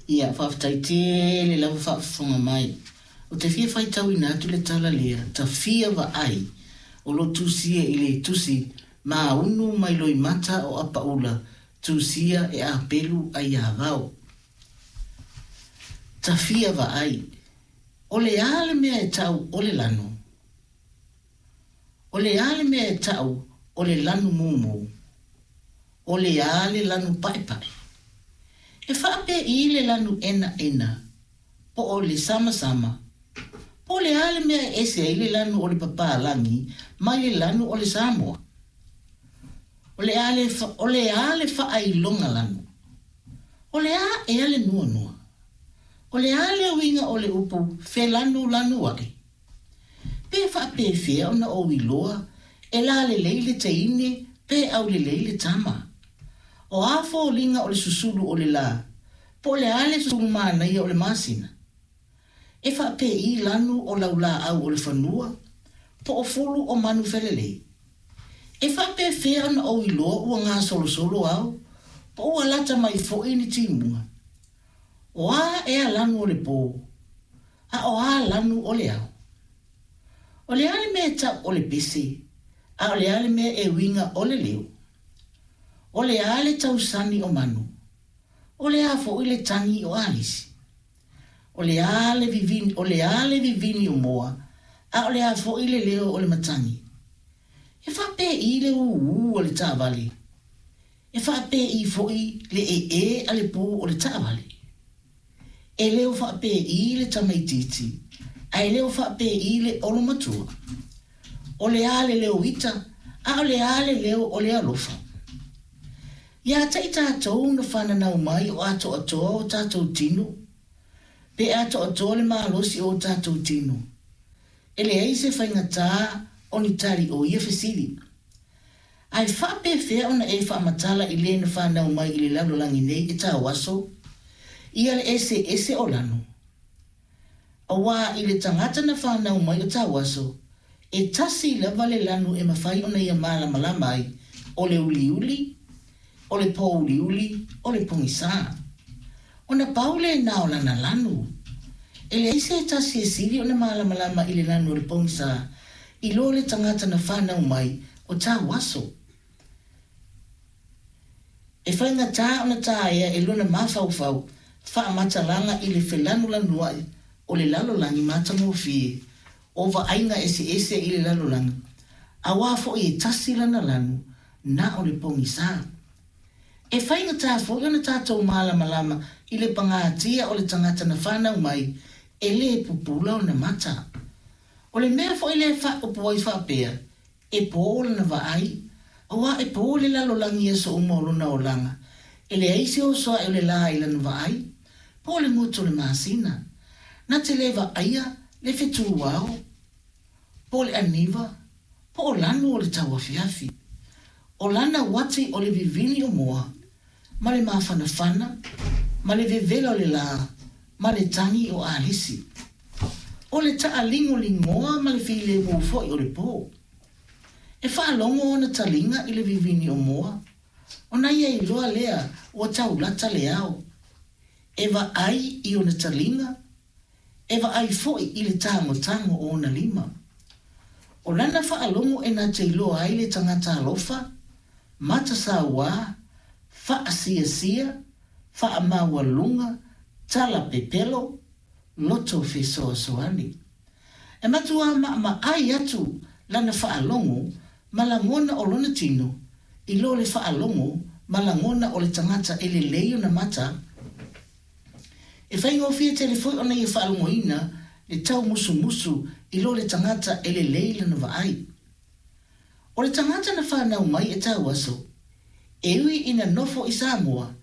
Ia, faafetai tele lava faafofoga mai. Ou te fia faitauina atu le tala lea, Tafia Vaai, o lo tusia i le tusi Maunu mai Loimata o Apaula, tusia e Apelu Aiavao. Tafia Vaai, O le a le mea e tau o le lanu? O le a le mea e tau o le lanu mumu? O le a le lanu paepae? E faapei le lanu enaena po o le samasama? Po o le a le mea e ese ai le lanu o le papalagi mai le lanu o le Samoa? O le a le, o le a le faailoga lanu? O le a ea le nuanua? O le a le uiga o le upu felanulanuaʻi? Pe faapefea ona ou iloa e lalelei le teine pe aulelei le tama? O a foliga o le susulu o le lā, po o le a le susulu manaia o le masina? E faapei lanu o laulāʻau o le fanua, po o fulu o manu felelei? E faapefea ona ou iloa ua gasolosolo ao, po ua lata mai foi ni timuga? O a ea lanu o le pō, a o a lanu o le ao? O le a le mea e tau o le pese, a o le a le mea e uiga o le leo? O le a le tausani o manu? O le a foi le tagi o alisi? O le a le vivini, o le a le vivini o moa, a o le a foi le leo o le matagi? E faapei le ūū a le taavale? E faapei foi le ee a le pū o le taavale? E leo faapei le tamaitiiti, a e leo faapei le olomatua? O le a le leo ita, a o le a le leo o le alofa? Iā te i tatou na fananau mai o atoatoa o tatou tino, pe atoatoa le malosi o o tatou tino. E leai se faigata o ni tali o ia fesili. Ae faapefea ona e faamatala i le na fanau mai i le lalolagi nei e tauaso ia le eseese o lanu? Auā i le tagata na fanau mai o tauaso, e tasi lava le lanu e mafai ona ia malamalama ai, o le uliuli, o le pōuliuli, o le pogisā. Ona pau lena o lana lanu. E leai se tasi e sili ona malamalama i le lanu o le pogisā i lo le tagata na fanau mai o tauaso. E faigata ona taea e lona mafaufau faamatalaga i le felanulanuaʻi o le lalolagi matagofie o vaaiga eseese i le lalolagi, auā foi e tasi lana lanu na o le pogisā. E faigata foi ona tatou malamalama i le pagatia o le tagata na fanau mai e lē pupula ona mata. O le mea foi lea e faaupu ai faapea, e pō lana vaai, auā e pō le lalolagi i aso uma o lona olaga, e leai se oso aʻe o le lā i lana vaai, po o le goto o le masina. Na te lē vaaia le fetuao, po o le aniva, po o lanu o le tauafiafi. O lana uati o le vivini o moa, ma le mafanafana, ma le vevela o le lā, ma le tagi o alisi. O le taʻaligoligoa ma le filemu foi o le pō. E faalogo ona taliga i le vivini o moa, ona ia iloa lea ua taulata le ao. E vaai i ona taliga, e vaai foi i le tagotago o ona lima. O lana faalogo e na te iloa ai le tagata alofa, matasauā, faasiasia, faamaualuga, tala pepelo, loto fesoasoani. E matuā maʻamaʻai atu lana faalogo ma lagona o lona tino i lo le faalogo ma lagona o le tagata e lelei ona mata. E faigofie tele foi ona ia faalogoina le taumusumusu i lo le tagata e lelei lana vaai. O le tagata na fanau mai e tauaso, e ui ina nofo i Samoa,